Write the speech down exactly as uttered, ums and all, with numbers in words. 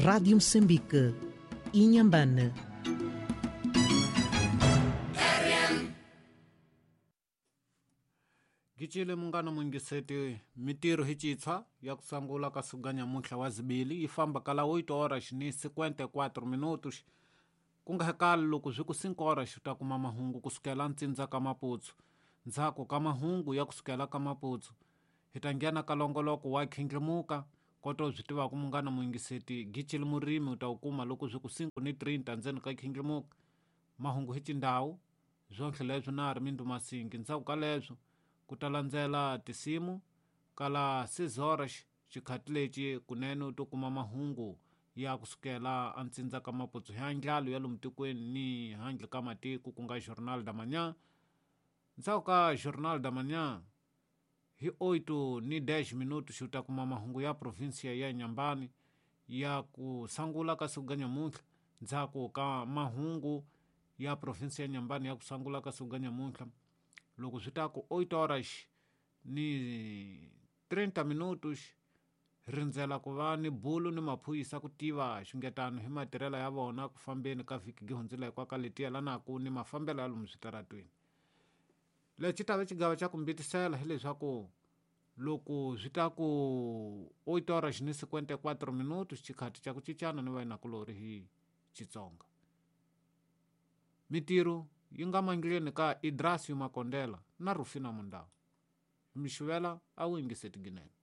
Rádio Moçambique, Inhambane. Gicile munghana mungiseti mitirho hi citshwa ya ku sungula ka siku nyamuntlha wa zibili yi famba kala oito horas ni cinquenta e quatro minutos ku nga kala loko swi ku cinco horas u ta kuma mahungu kusukela ntsindza ka Maputsu. Ndzhaku ka mahungu ya kusukela ka Maputsu hi ta nghena ka longoloko wa khindlimuka koto byi tivaka munghana muyingiseti gicile murimi u ta wu kuma loko swi ku cinco ni trinta ndzeni ka khindlimuka. Mahungu hi tindhawu swonhle leswi na ri mindu masingi. Ndzhaku ka leswo ku ta landzela tisimu kala seis horas xikhati lexi kunene u to kuma mahungu ya kusukela antsindza ka Maputsu hi ndlalo ya lomu tikweni ni handle ka matiko ku nga Jornal da Manhã. Ndzhaku ka Jornal da Manhã hi oito ni dez minutos u ta kuma mahungu ya provinsia ya Inhambane ya ku sungula ka siku nyamuntlha. Ndzhaku ka mahungu ya provinsia ya Inhambane ya ku sungula ka siku nyamuntlha loko swi ta ku oito horas ni trinta minutos rindzela ku va ni bulu ni maphorisa ku tiva xungetano hi matirhelo ya vona ku fambeni ka vhiki gi hundzile hikwaka leti yelanaka ni mafambelo ya lomu switaratweni. Lexi ta va xigava xa ku mbitisela hileswaku loko swi ta ku oito horas ni cinquenta e quatro minutos xikhati xa ku cincana ni vayinakulori hi Xitsonga. Mitirho yi nga mandleni ka Idrasio Makondela na Rufina Mundau. Mixivela a wu yingiseti ginene.